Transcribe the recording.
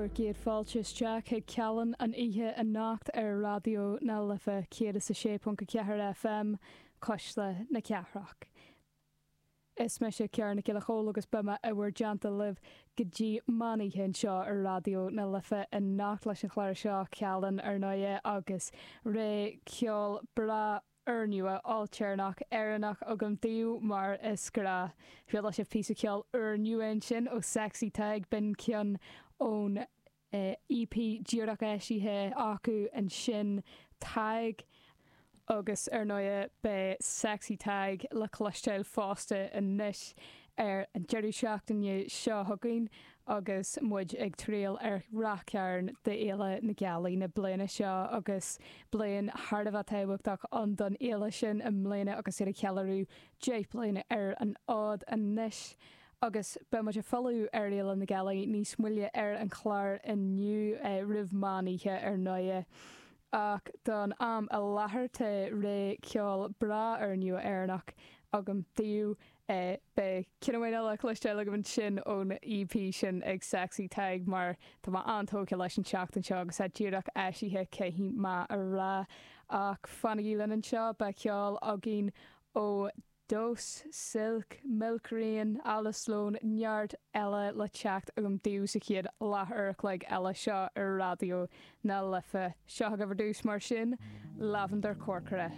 Bhur gcéad fáilte isteach chuig Callán an oíche anocht ar Raidió na Life 106.4 FM, Cuisle na Cathrach. Is mise Ciara Nic Giolla Chóill agus beidh mé i bhur dteannta libh go dtí meán oíche anseo ar Raidió na Life anocht leis an chlár seo, Callán, ar ndóighe, agus rogha ceol breá úrnua, ailtéarnach, Éireannach agam daoibh mar is gnáth. Chuala sibh píosa ceoil úrnua ansin ó Sexy Tadhg, b'in ceann ón EP díreach eisithe acu ansin, Tadhg. Agus ar ndóighe beidh Sexy Tadhg le cloisteáil fosta anois ar an deireadh seachtaine seo chugainn agus muid ag triall ar Ráth Cairn d'Fhéile na Gealaí na bliana seo agus bliain thar a bheith tábhachtach ann don fhéile sin i mbliana agus iad ag ceiliúradh 10 bliana ar an fhód anois. Agus beidh muid ag filleadh ar Fhéile na Gealaí níos moille ar an chlár inniu, roimh meán oíche ar ndóighe. Ach don am i láthair tá rogha ceoil breá úrnua Éireannach agam daoibh. Beidh ceann amháin eile cloisteáil agam ansin ón EP sin ag Sexy Tadhg mar tá mé an-tógtha leis an tseachtain seo agus é díreach eisithe caithfidh mé a rá. Ach fanaigí linn anseo, beidh ceol againn ó Dós, Silk, Milk Rain, Alice Sloane, neart eile le teacht agam daoibh sa chéad leathuair a chloig eile seo ar Raidió na Life. Seo agaibh ar dtús mar sin, Lavender Corcora.